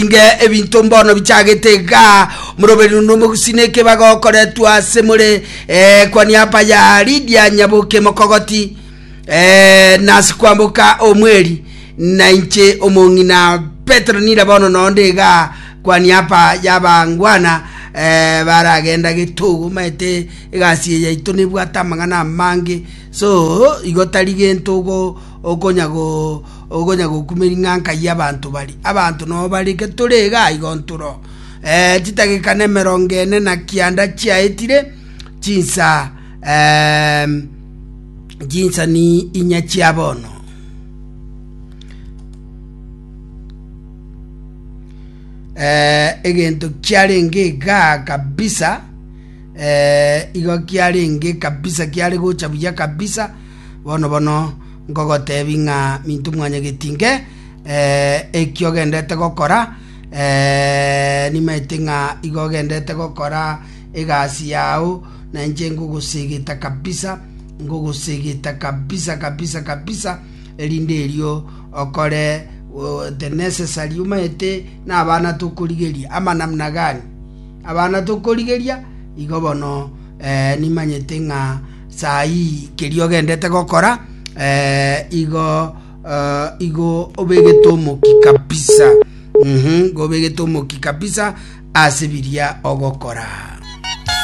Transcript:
Inge ebinto mbono bichagete igaa, omoroberi onde omogusii nekebago okoretwa ase more eh, kwa niaba ya Lydia Nyaboke Mokogoti eh, nase kwamboka omweri na inche omong'ina Petero nira bono nonde igaa kwa niaba y'abangwana eh, baragenda getogo omanyete egasi eye yaito nebwate amang'ana amange so igo tari gento ogo okonya go Okonya gokumeria ng'a nkai abanto baria. Abanto noo bare tore iga igo ntoro. Eh, chidakika nemerongo ene na kianda chiaetire, chinsa eh, chinsa ni inya chia bono. Eh, egento kiarenge igaa kabisa eh, igo kiarenge kabisa kiare gocha buya kabisa bono bono Nkogotebi ng'a minto mwanyagetinge, eki ogendete gokora, nimaete ng'a igo ogendete gokora egasi yao, na inche ngogosegeta kabisa, ngogosegeta kabisa kabisa kabisa, erinde erio okore the necessary omaete na abana tokorigeria ama namna gani? Abana tokorigeria, igo bono nimanyete ng'a. Saii keria ogendete gokora eh, igo eh, igo obegete omoki kabisa mhm, igo obegete omoki kabisa ase biria ogokora.